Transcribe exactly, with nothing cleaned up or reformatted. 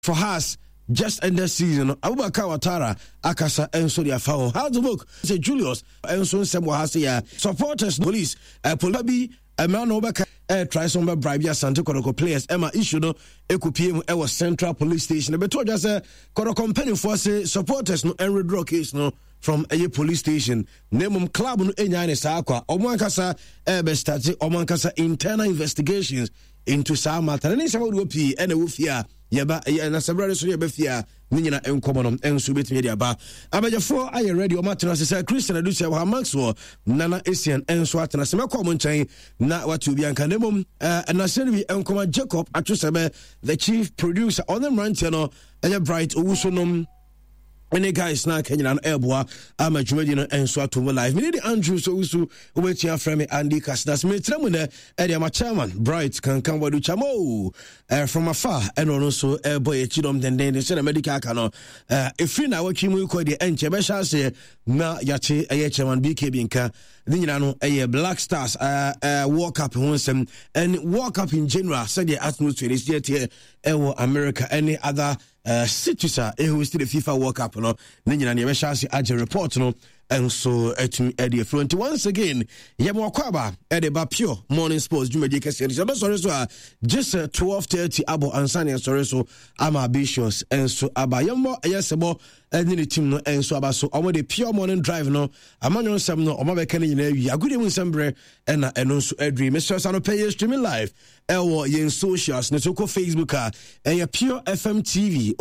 For Hearts just ended season no, Abubakar Watara akasa nso de afa ho. Hearts of Oak sɛ Julius nso nsɛm wɔ ha se ya supporters police uh, police bi mmerɛ na wɔbɛka eh, try sɛ wɔbɛ bribe Asante Kɔtɔkɔ players ɛma issue no ɛkɔpie mu ɛwɔ Central Police Station. Ɛbɛto ɔdwa sɛ Kɔtɔkɔ mpanimfoɔ se supporters no ɛnredraw case no from ɛyɛ police station, na mmom club no ɛnyaa ne saa kwa ɔmo ankasa ɛbɛ start ɔmo ankasa internal investigations into saa matter ne nsɛm ahodoɔ pii ɛna ɛwɔ fie a yɛba ɛyɛ na sɛ berɛ so yɛbɛ fie a ne nyina nkɔmmɔ no nso bɛtumi de aba. Abagyafoɔ ayɛ ready, ɔmo atena ase sɛ Christian Adusia wɔ ha, Maxwell Nana Asian nso atena ase. Mɛkɔ ɔmo nkyɛn na wate obi anka, na mmom ɛnasɛ no bi nkɔma Jacob Atwosɛbɛ, the chief producer, ɔne mmeranteɛ no ɛyɛ Bright Owusu nom ɛne guys na aka nyina no ɛreboa ama dwumadi no nso ato mu live. Mene de Andrew so wusu, wobɛtua frɛ me Andy Casdas. Metrɛ mu nɛ ɛde ama chairman Bright Kankan Wadu Chamo uh, from afar, ɛna ɔno nso ɛbɔ yɛ kyidɔm dendenden sɛdeɛ medical aka no. Ɛfiri na awɔtwe mu kɔ deɛ, ɛnkyɛ bɛhyɛ aseɛ na yɛakye ɛyɛ chairman B K B nka ne nyinaa no ɛyɛ Black Stars uh, uh, World Cup ho nsɛm and World Cup in general, sɛdeɛ atmosphere no si ɛteɛ ɛwɔ America ɛne other uh, cities a ɛhost the FIFA World Cup no ne nyina ne yɛbɛhyɛ ase agye report no nso atumi ɛde afiri. Nti once again, yɛma wakɔ aba ɛde ba Pure Morning Sports dwumadie kɛseɛ no sɛ yɛbɛsɔre so a, gye sɛ twelve thirty abɔ ansa ne yɛsɔre so ama ambitious nso aba. Yɛmmɔ ɛyɛ sɛbɔ ɛne ne team no nso aba so. Ɔmo de Pure Morning Drive no amanyɔ nsɛm no ɔmo abɛka no nyinaa wie. Agodie mu nsɛm berɛ ɛna ɛno nso aduri. Mesrɛ sa no pɛ yɛ streaming live ɛwɔ yɛn socials ne so. Kɔ Facebook a, ɛyɛ Pure F M T V.